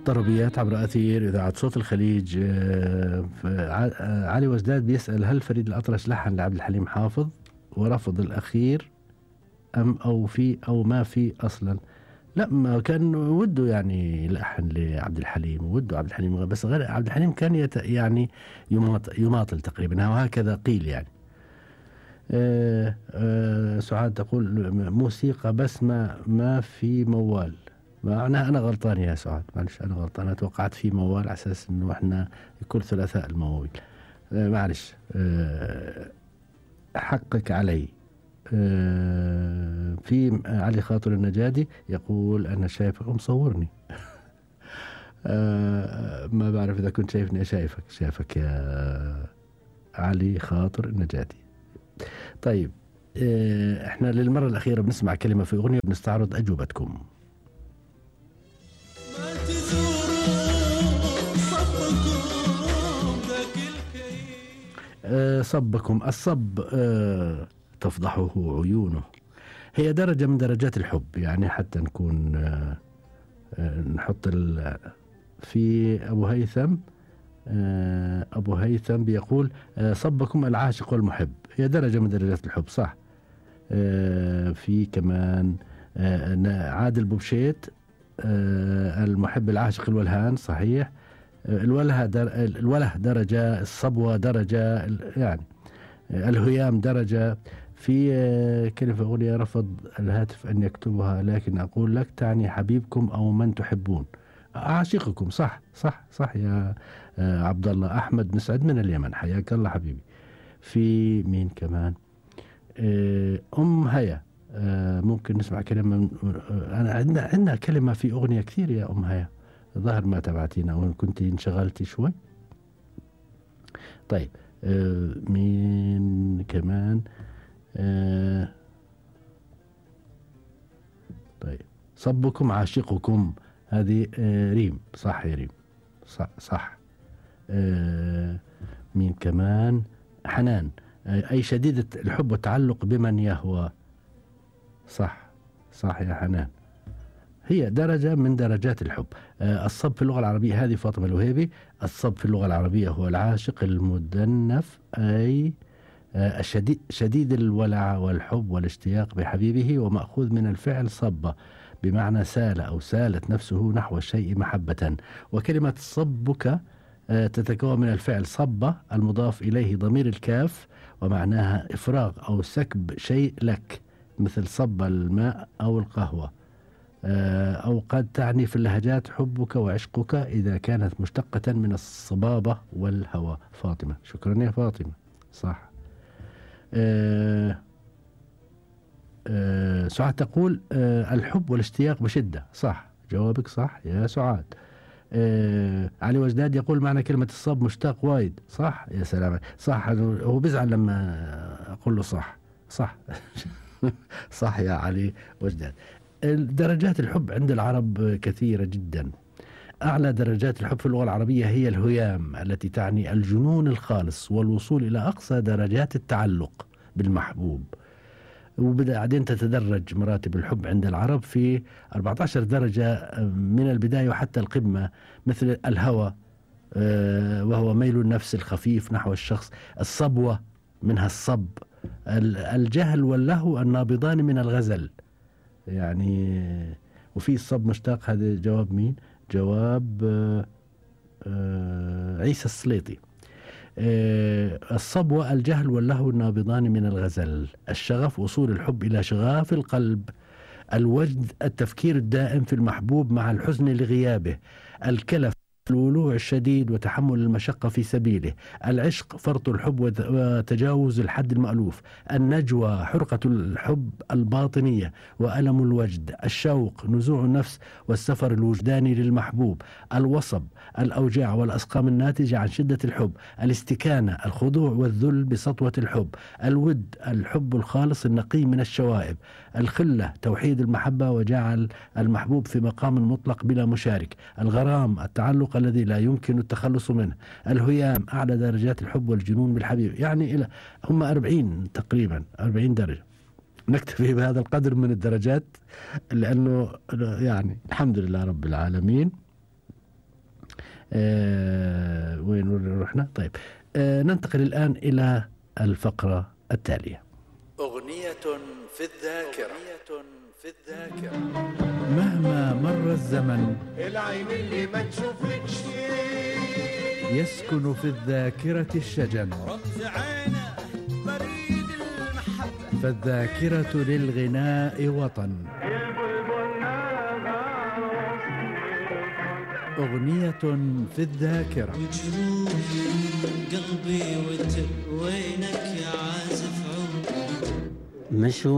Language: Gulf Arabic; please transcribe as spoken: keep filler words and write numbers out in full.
طربيات عبر أثير إذاعة صوت الخليج. آه، ف- ع- آه، علي وجداد بيسأل: هل فريد الأطرش لحن لعبد الحليم حافظ ورفض الأخير أم أو في أو ما في أصلا؟ لا، ما كان وده يعني لحن لعبد الحليم، وده عبد الحليم، بس غير عبد الحليم كان يت يعني يماطل, يماطل تقريبا، وهكذا قيل يعني. آه آه سعاد تقول: موسيقى بس ما ما في موال. معناها أنا غلطان يا سعاد، معلش أنا غلطان، أنا توقعت في موال على أساس إنه إحنا كل ثلاثاء المواويل. آه معلش، آه حقك علي. آه في علي خاطر النجادي يقول: أنا شايفك ومصورني. آه ما بعرف إذا كنت شايفني. شايفك شايفك يا علي خاطر النجادي. طيب، آه احنا للمرة الأخيرة بنسمع كلمة في أغنية وبنستعرض أجوبتكم. آه صبكم الصب، آه تفضحه عيونه. هي درجة من درجات الحب، يعني حتى نكون آه آه نحط في أبو هيثم. آه أبو هيثم بيقول: آه صبكم العاشق والمحب. هي درجة من درجات الحب، صح. آه في كمان آه عادل بوبشيت: آه المحب العاشق الولهان، صحيح. آه الوله در الوله درجة، الصبوة درجة، يعني آه الهيام درجة. في آه كلمة أغنية رفض الهاتف أن يكتبها، لكن أقول لك تعني حبيبكم أو من تحبون. عاشقكم، صح صح صح يا آه عبد الله. أحمد مسعد من اليمن، حياك الله حبيبي. في مين كمان؟ آه أم هيا. آه ممكن نسمع كلمة من آه أنا عندنا عندنا كلمة في أغنية كثير يا أم هيا، ظهر ما تبعتينا وإن كنت انشغلتي شوي. طيب، آه مين كمان؟ آه طيب، صبكم عاشقكم، هذه آه ريم، صح يا ريم، صح صح. آه مين كمان؟ حنان: آه أي شديدة الحب والتعلق بمن يهوى. صح صح يا حنان، هي درجة من درجات الحب. آه الصب في اللغة العربية، هذه فاطمة الوهيبي: الصب في اللغة العربية هو العاشق المدنف، أي آه الشديد شديد الولع والحب والاشتياق بحبيبه، ومأخوذ من الفعل صب بمعنى سال أو سالت نفسه نحو الشيء محبة. وكلمة صبك آه تتكون من الفعل صب المضاف إليه ضمير الكاف، ومعناها إفراغ أو سكب شيء لك، مثل صب الماء أو القهوة. أو قد تعني في اللهجات حبك وعشقك إذا كانت مشتقة من الصبابة والهوى. فاطمة، شكرا يا فاطمة، صح. أه أه سعاد تقول: أه الحب والاشتياق بشدة، صح، جوابك صح يا سعاد. أه علي وجداد يقول: معنى كلمة الصب مشتاق وايد، صح. يا سلام، صح، هو بيزعل لما أقول له صح صح. صح يا علي وجداد. درجات الحب عند العرب كثيرة جدا. أعلى درجات الحب في اللغة العربية هي الهيام، التي تعني الجنون الخالص والوصول إلى أقصى درجات التعلق بالمحبوب. وبعدين تتدرج مراتب الحب عند العرب في أربعة عشر درجة من البداية وحتى القمة، مثل الهوى وهو ميل النفس الخفيف نحو الشخص. الصبوة منها الصب. الجهل واللهو النابضان من الغزل، يعني. وفي الصب مشتاق، هذا جواب مين؟ جواب آآ آآ عيسى السليطي. الصبوة الجهل واللهو النابضان من الغزل. الشغف وصول الحب إلى شغاف القلب. الوجد التفكير الدائم في المحبوب مع الحزن لغيابه. الكلف الولوع الشديد وتحمل المشقة في سبيله. العشق فرط الحب وتجاوز الحد المألوف. النجوى حرقة الحب الباطنية وألم الوجد. الشوق نزوع النفس والسفر الوجداني للمحبوب. الوصب الأوجاع والأسقام الناتجة عن شدة الحب. الاستكانة الخضوع والذل بسطوة الحب. الود الحب الخالص النقي من الشوائب. الخلة توحيد المحبة وجعل المحبوب في مقام مطلق بلا مشارك. الغرام التعلق الذي لا يمكن التخلص منه. الهيام أعلى درجات الحب والجنون بالحبيب، يعني إلى هم أربعين تقريبا، أربعين درجة. نكتفي بهذا القدر من الدرجات، لأنه يعني الحمد لله رب العالمين. آه وين رحنا؟ طيب آه ننتقل الآن إلى الفقرة التالية. أغنية في الذاكرة. أغنية في الذاكرة. مهما مر الزمن العين اللي ما تشوفكش يسكن في الذاكرة الشجن، رمز عينه بريد المحبة، فالذاكرة للغناء وطن. أغنية في الذاكرة. وجروح قلبي وانت وينك يا عازف عمر. مشوا